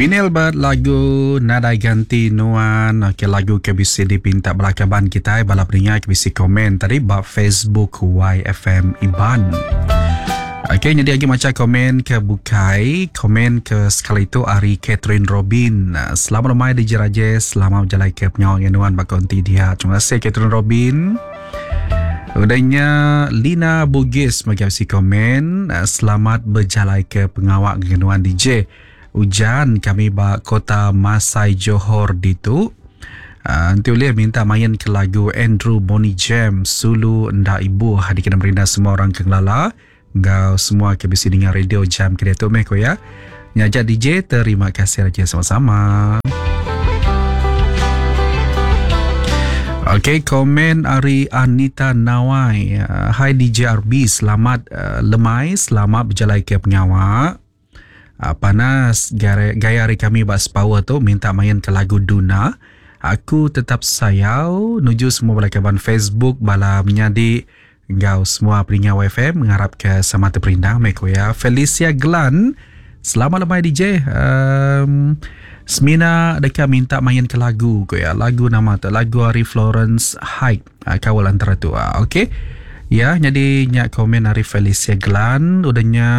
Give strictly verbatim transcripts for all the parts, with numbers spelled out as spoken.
Winil bat lagu Nadai Ganti Nuan. Okey, lagu ke bisi dipinta bala kaban kitai, bala peninga ke bisi komen tadi ba Facebook Y F M Iban. Okey, jadi lagi maca komen ke bukai. Komen ke sekali tu ari Catherine Robin. Selamat lemai D J Rajesh, selamat berjalai ke pengawal Nuan ba konti dia. Terima kasih Catherine Robin. Udahnya Lina Bugis bagi bisi komen, selamat berjalai ke pengawal Nuan D J. Ujan kami ba kota Masai Johor ditu. Uh, nanti boleh minta main ke lagu Andrew Bonnie James Sulu Nda Ibu dikena merinda semua orang ke ngelala ngau semua ke bisi dengar radio jam ke diatu meh ko ya. Nyajak D J, terima kasih raja sama-sama. Okey, komen ari Anita Nawai. Uh, Hai D J R B, selamat uh, lemai, selamat berjalai ke pengawak. Uh, panas gaya, gaya hari kami bak sepower tu minta main ke lagu Duna. Aku tetap sayau nuju semua bala kaban Facebook, bala menyadi ngau semua peninga Y F M mengharap ke sama terperindang meko ya. Felicia Glan, selamat lemai D J. Um, Semina deka minta main ke lagu ko ya. Lagu nama tu lagu ari Florence Hyde. Uh, kawal antara tu. Uh, okey. Ya, jadi nyak komen ari Felicia Glan, udahnya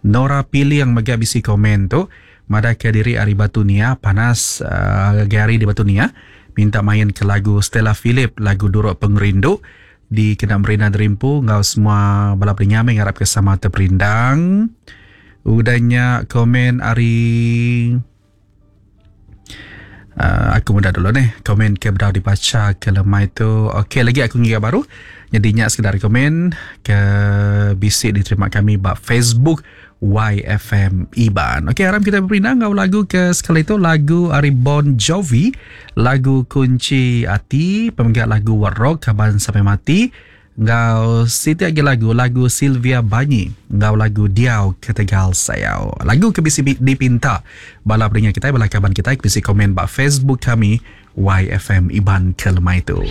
Nora Piling mega bisi komen tu. Madah ke diri ari Batu Nia, panas uh, gari di Batu Nia, minta main ke lagu Stella Philip, lagu Duruk Pengerindu di kena Merina Derimpu ngau semua bala peninga ngarap ke sama terperindang. Udahnya komen ari Uh, aku muda dulu nih komen ke bedau dibaca ke lemai tu. Okey, lagi aku ngira baru. Jadi nyak sekedar komen ke bisi diterima kami ba Facebook Y F M Iban. Okey, harap kita berpindah ngau lagu ke sekali tu, lagu ari Bon Jovi, lagu Kunci Ati, pemegang lagu What Rock Kaban Sampai Mati. Ngau siti lagi lagu, lagu Sylvia Banyi, ngau lagu Diau Ketegal Sayau. Lagu ke bisi dipinta bala peninga kita, bala kaban kita bisi komen ba Facebook kami Y F M Iban ke lemai tu.